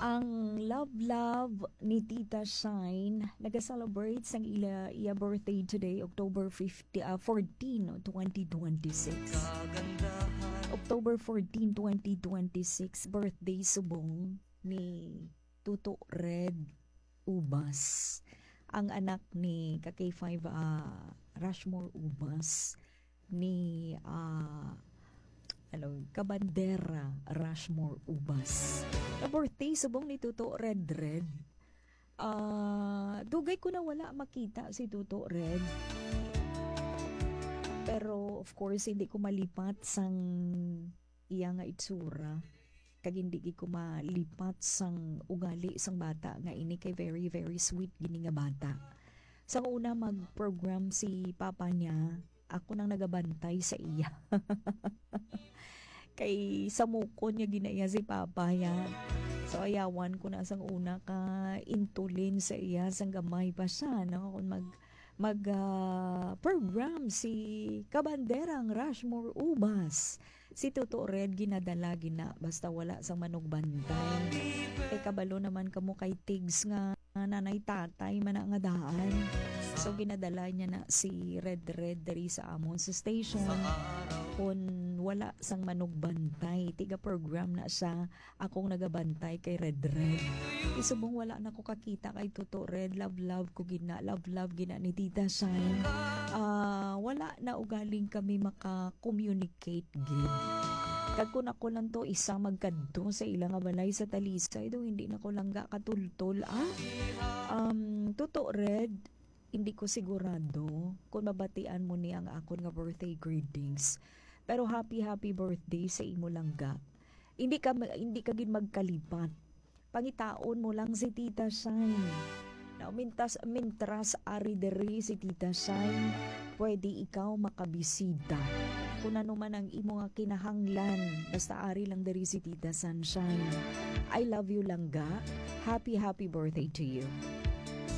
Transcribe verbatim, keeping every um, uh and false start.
Ang love love ni Tita Shine nag-celebrate sang ila iya birthday today, October fifty, ah, fourteen, twenty twenty-six. October fourteen, twenty twenty-six, birthday subong ni Tuto Red Ubas, ang anak ni ka K five, ah, Rushmore Ubas, ni, ah, ano, Kabandera Rushmore Ubas. Ka birthday subong ni Tuto Red Red. Ah, dugay ko na wala makita si Tuto Red. Pero, of course, hindi ko malipat sang iya nga itsura. Kag hindi gid ko malipat sang ugali sang bata nga ini, kay very, very sweet gini nga bata. Sang una mag-program si papa niya, ako nang nagabantay sa iya. Kay samukon niya gina iya si papa niya. So, ayawan ko na sang una ka intulin sa iya sang gamay pa siya, no? Kung mag, mag, ah, program si Kabanderang Rushmore Ubas. Si Tuto Red ginadala gina, basta wala sang manugbantay. Kay kabalo naman kamo kay Tigs nga nanay tatay man na nga daan. So, ginadala niya na si Red Red diri sa amon sa station. Kung wala sang manugbantay, tiga program na siya, akong nagabantay kay Red Red. Isubong wala na ko kakita kay Tuto Red. Love, love ko gina. Love, love gina ni Tita Shine. Ah, wala na ugaling kami maka-communicate gid. Kag kun ako lang to isa magkadto sa ila nga balay sa Talisay, daw hindi na ko lang ga katultol, ah. Um, Tuto Red, hindi ko sigurado kung mabatian mo ni ang akon nga birthday greetings. Pero happy, happy birthday sa imo langga. Hindi ka, hindi ka gid magkalipat. Pangitaon mo lang si Tita Shine. Now, mintas, mintras ari diri si Tita Shine, pwede ikaw makabisita. Kung ano man ang imo nga kinahanglan, basta ari lang diri si Tita Sunshine. I love you, langga. Happy, happy birthday to you.